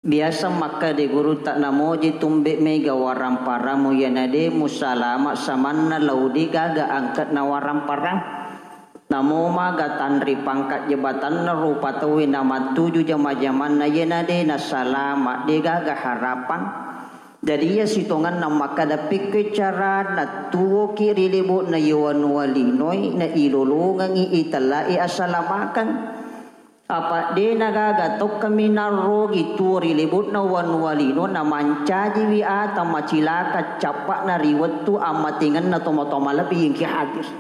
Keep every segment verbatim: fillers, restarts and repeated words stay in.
Biasa makkeda gurutta, namoji tumbe mega waramparamo, iyana de musalama samanna lao de gaga angke'na waramparang. Namo maga tanri pangkat jabatanna rupa tauwe namattuju jama-jamanna, iyana de nasalama, de gaga harapang. Jadi iya sitongenna makkeda, pekkoi carana tuwoki ri lebo'na ye wanua linoi, na ilolongengi itellai asalamakeng. Apa de nagaga tokkami narrogi tuo ri lebo'na wanua lino namancajiwi ata macilaka cappa'na ri wettu ammatengenna tomatoa malebbi engki hadir.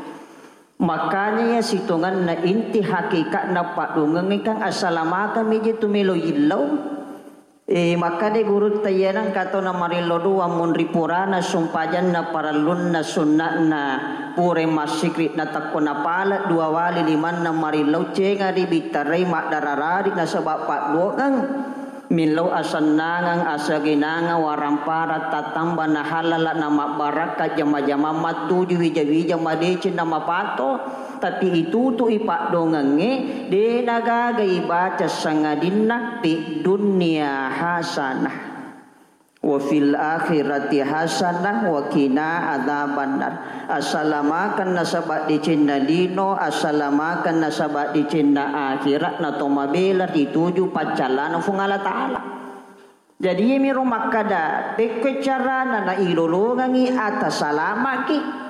Makanya iya sitongenna inti hakikatna paddongengngé kan asalamakeng miji tu melo yillau. Eh, makkeda gurutta, iya nengka tau namarillo doang munri purana sumpajanna parellunna sunna'na pura massikri natakko napala dua wali limanna marillau cenga ri bittarai maddararari nasaba padduongeng millau asennangeng asagenangeng warampara tattamba nahalala namabbarakka jama-jama mattuju wija-wija madeceng namapato. Tapi itutu'i paddongengngé, dé nagaga ibaca sangadinna fid dunya hasanah, wa fil akhirati hasanah, wa qina adzabannar. Asalamakeng nasaba decenna lino, asalamakeng nasaba decenna akhirat, natomabela rituju paccallana Fuang Allah Ta'ala. Jadi, iyamiro makkada, pekkoi carana nailolongengi ata salamaki.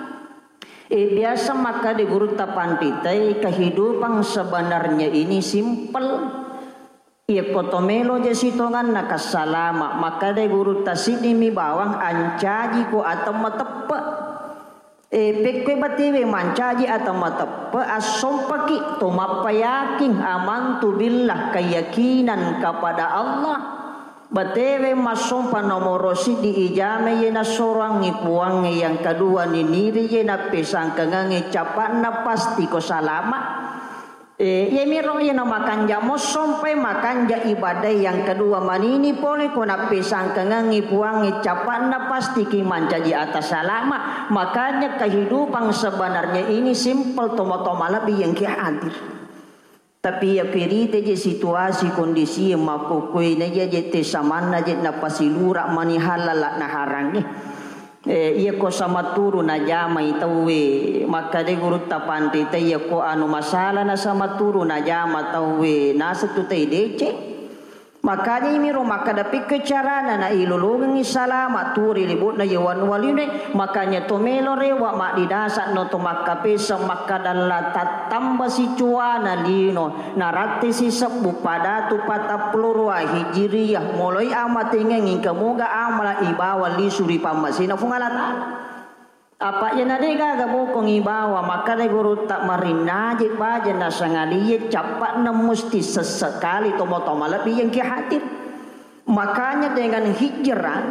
Eh, biasa makkada gurutta panritae, kehidupan sebenarnya ini simpel. Iyakko to melo je sitonganna kassalama, makkada gurutta siddimi bawang ancajiko ata mateppe. Eh, pekkoi batewe mancaji ata mateppe, assompaki to mappayaking, amantu billah, keyakinan kepada Allah. Batewe massompa nomoro siddi ijame ye nassoroangngi Puangnge, yang kedua niniri ye nappesangkangangngi capa'na pasti ko salama. Eh, iyamiro iyana makanja mossompai makanja ibadah, yang kedua manini pole ko nappesangkangangngi Puangnge capa'na pastiki mancaji ata salama. Makanya kehidupan sebenarnya ini simpel, tomo-tomo lebih yang ki hadir. Tapi iya pirita je situasi kondisi makkukkuina iya je te samanna je napasilura mani halala naharangnge. Eh, iya ko sama turu najamai tauwe, makkada gurutta panrita iya ko anu masalah na sama turu najama tauwe, naseng tu tai deceng. Makanya imiro makkada pikke carana na ilolongengi salama tuo ri libo'na ye wanua linoe. Makanya to melo rewa maddidasa no to makkapesa makkada la tattamba sicuana lino. Narattesi sebbu padatu patappulo rua Hijriyah, moloi amatengengngi kamoga amala ibawa lisu ri pammasena Fuang Allah Ta'ala. Apa iyana de gaga bokong ibawa, makkada gurutta marinnaje baja nasangalie cappa'na musti sessekali tomo-tomo lebbi yengki hadir. Makanya dengan hijrah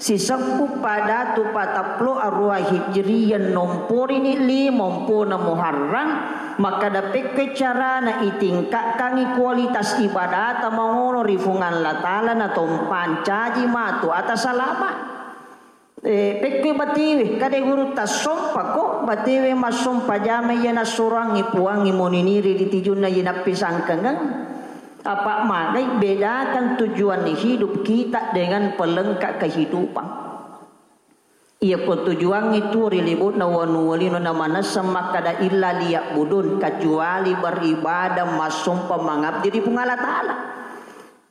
sisebbu padatu patappulo arua Hijriyah nomporini lima ompona Muharram, makkada pekke carana itingkatkangi kualitas ibadata mangono ri Fuang Allah Ta'ala na tompancaji matu ata salama. Eh, pekke batewe, kada gurutta sompako batewe massompa jamai iya nassuroangngi Puangngi moniniri ri tijunna iya nappisangkangeng. Apa magai bedakan tujuan hidup kita dengan pelengkap kehidupan. Iyako tujuangnge tuo ri libo'na wanua lino namanesseng makkada illa liya'budun, kecuali beribadah massompa mangabdi ri Puang Allah Ta'ala.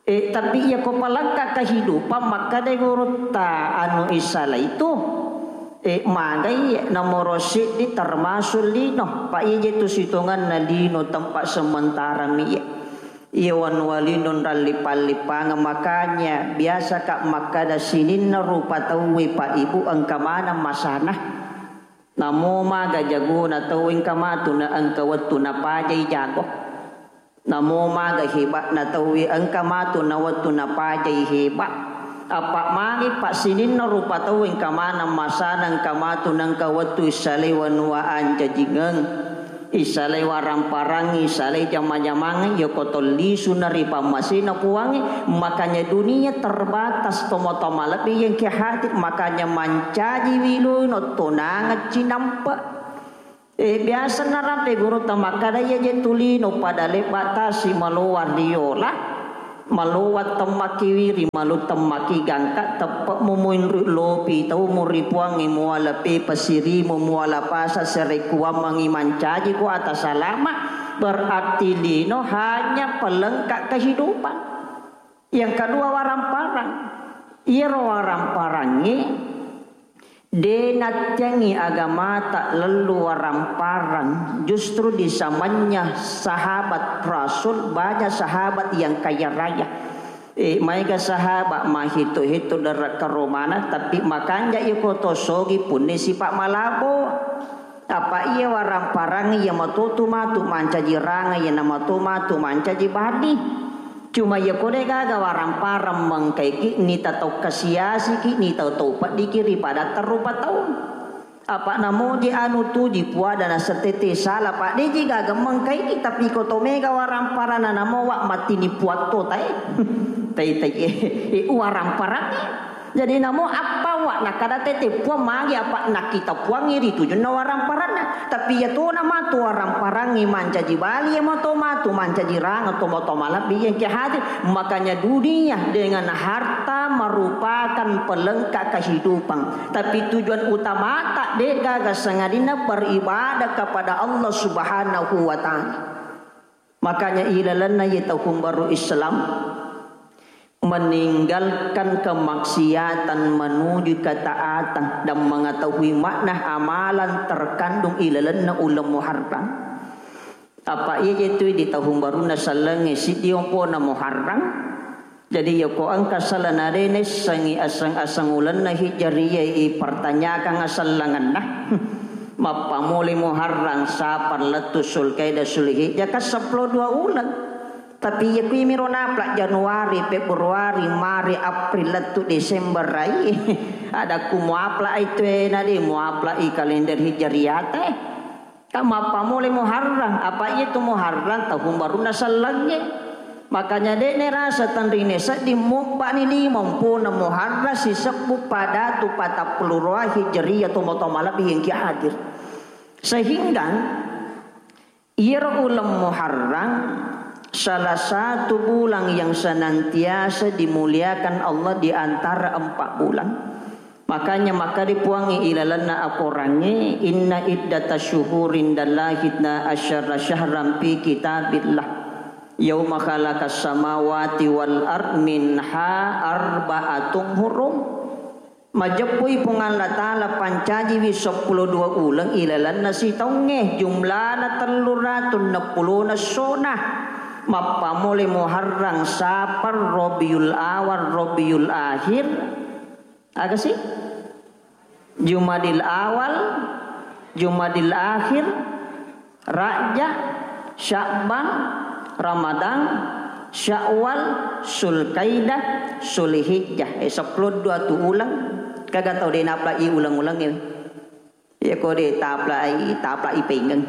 Eh, tapi iyako palengkap kehidupan makkada gurutta anu isalai tu, eh, magai nomoro siddi termasuk lino. Pa ije tu sitonganna lino tempat sementara mi iya. Iya wanua lino nrallippang-lippangeng, makanya biasaka makkada sininna rupa tauwe, Pak Ibu, engka maneng masana. Namo maga jagona tauwe engka matu na engka wettu napajai jago. Namo maga heba'na tauwe engka matu na wettu napajai heba. Apa magi pa sininna rupa tauwe engka maneng masana, engka matu na engka wettu issalai wanua ancajingeng. Isalai waramparang, isalai jama-jamang, yako tollisu na ri pammasena Puangnge. Makanya dunia terbatas, tomo-tomo lebbi yengki hadir, makanya mancaji wilui no tonangeng cinampe. Eh, biasa narampe gurutta makkada iya je tulino pada lebba tasi maloa riola. Malowa temmaki wiri, malu temmaki gangka, teppe' mumoinru lopi tau muri puangngi muala pe pasirimu, muala pasa serekuammengngi mancaji ko ata salama, berarti lino hanya pelengkap kehidupan. Yang kedua, waramparang. Iyaro waramparangngé dé' nattiangngi agamata lellu waramparang, justru di zamannya sahabat Rasul, banyak sahabat yang kaya raya. Eh, maéga sahabat mahitu-hitu dara karomana, tapi makanja iko to sogi punni sipa' malabo. Apa iya waramparang iya matotu matu mancaji ranga, iya namato matu mancaji bali. Cuma iya ko dé' gaga waramparang mengkaiki, nita tau kasiasiki, nita tau peddiki ri padatta rupa tau. Apa namoji anu tuji puada nasetete sala, pa dé'ji gaga mengkaiki, tapi ko to méga waramparang nanamowa mattini puatto taé. Tai-tai, eh, waramparang. Jadi namo appawa nakkada tette puang magi apa nakkita puangngi ri tujunna waramparanna. Tapi iya tona matu waramparangngi mancaji bali, iya mato matu mancaji ranga, to mato malebbi iya engka hadir. Makanya dunia dengan harta merupakan pelengkap kehidupan. Tapi tujuan utamata dé' gaga sangadinna beribadah kepada Allah Subhanahu wa Ta'ala. Makanya ilalenna iya tahun baru Islam, meninggalkan kemaksiatan menuju ketaatan dan mengetahui makna amalan terkandung ilalenna uleng Muharram. Apa iya je tu di tahun barunna sellengngé siddi ompona Muharram. Jadi iya ko engka sala na dé' naissengngi aseng-aseng ulenna Hijriyah, ipertanyakan asellengenna. Mappamulai Muharram, Safar, lettu Sulkaidah, Sulhijjah, kan seppulo dua uleng. Tapi iya kuwi miro napla Januari, Februari, Maret, April, lettu Desember ai. Ada ku muapla ai tué na dé' muapla i kalender Hijriyah té. Kan mappamulai Muharram, apa iya tu Muharram tahun barunna sellengngé. Makanya dé' nairasa tenrine sedding mubba'ni lima ompona Muharram sisebbu padatu patappulo dua Hijriyah, tomo-tomo malebbi engki hadir. Sehingga iyaro uleng Muharram salah satu bulan yang senantiasa dimuliakan Allah di antara empat bulan. Makanya makkeda Puangnge ilalenna akorangngé, "Inna iddata syuhuri indallahi itna asyara syahran fi kitabillah. Yauma khalaqas samawati wal ard minha arba'atun hurum." Majeppui Puang Allah Ta'ala pancajiwi seppulo dua uleng ilalenna sitaungngé, jumlana tellu ratu enneppulona essona. Mappamulai Muharram, Safar, Rabiul Awal, Rabiul Akhir, Aga sih? Jumadil Awal, Jumadil Akhir, Rajab, Sya'ban, Ramadan, Syawal, Sulkaidah, Sulhijjah. Eh, seppulo dua tu uleng. Kaga tau dé' naplai uleng-uleng, eh. Iya ko dé' taplai, taplai pengeng.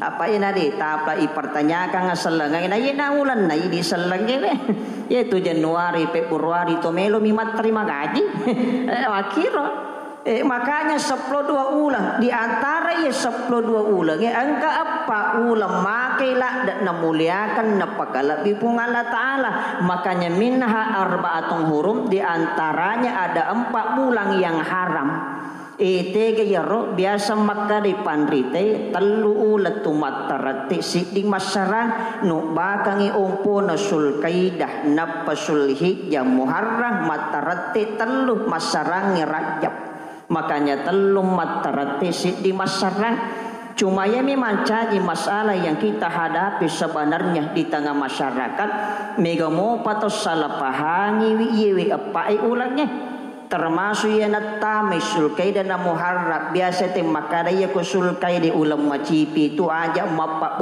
Apa ina dé' taplai pertanyakan sellengeng. Na iyana ulenna idi sellengeng, wé. Yaitu Januari, Februari to melo mi matterima gaji. Eh, makkiro. Eh, makanya seppulo dua uleng. Di antara iya seppulo dua uleng, eh, engka eppa uleng makai ladde' namuliakan, napakalebbi Puang Allah Ta'ala. Makanya minha arba'atun hurum, di antaranya ada empat bulan yang haram. Eh, tega iyaro biasa makkeda panrita, tellu uleng tu matterette, siddi massarang, nubbakangi ompona Sulkaidah, nappa Sulhijjah, Muharram, matterette tellu, massarangngi Rajab. Makanya tellu matterette, siddi massarang. Cuma iyami mancaji masalah yang kita hadapi sebenarnya di tengah masyarakat, mega mopa to salah pahangiwi iyewe eppae ulengnge. Termasuk iya nattamai Sulkaidah na Muharram, biasa te makkada iya ko Sulkaidah uleng macipi tu aja mappa